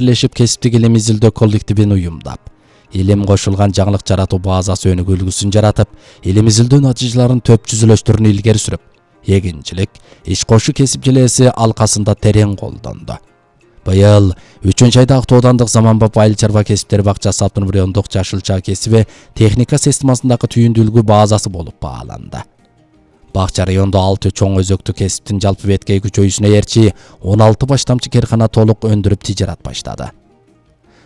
бирлешип кесиптик илим изилдөө коллективин уюмдап, илим кошулган жаңылык жаратуу базасы өнүгүүлүгүсүн жаратып, илим изилдөө натыйжаларын төп жүзүлөштөрүнү илгери сүрүп, эгинчилик, иш кошуу кесип желеси алкасында терең колдонду. Быйыл 3-айда Ак Тоо аудандык Заманбап айыл чарба кесиптери бакчасы автономдук райондук жашыл чаа кесиби техника системасындагы түйүндүүлүгү базасы болуп бааланды. Бакча райондо 6 чоң өзөктү кесиптин жалпы беткей күчөйүшүнө эрчи 16 баштамчы кархана толук өндүрүп тижарат баштады.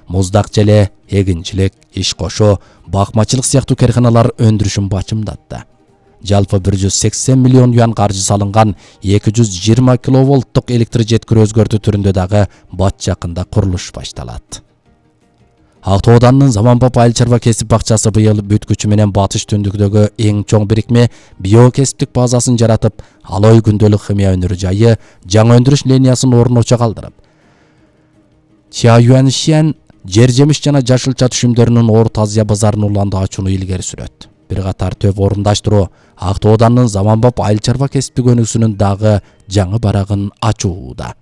Муздак желе, эгинчилик, иш кошуу, бакмачылык сыяктуу карханалар өндүрүшүн бачымдатты. Жалпы 180 миллион юан каржы салынган 220 киловолттук электр жеткирүү өзгөртүү түрүндө дагы бат жакында курулуш башталат. Ак Тоо ауданынын Заманбап айыл чарба кесип бакчасы быйыл бүт күчү менен батыш түндүктөгү эң чоң бирикме биокесиптик базасын жаратып, Алой күндөлүк химия өнөр жайы жаңы өндүрүш линиясын орночо калтырып, Чаяюаншен жер жемиш жана жашыл чаа түшүмдөрүнүн Орто Азия базарын уланды ачууну илгери сүрөт. Бир катар төп орундаштыруу Ак Тоо ауданынын Заманбап айыл чарба кесиптик өнүгүүсүнүн дагы жаңы барагын ачууда.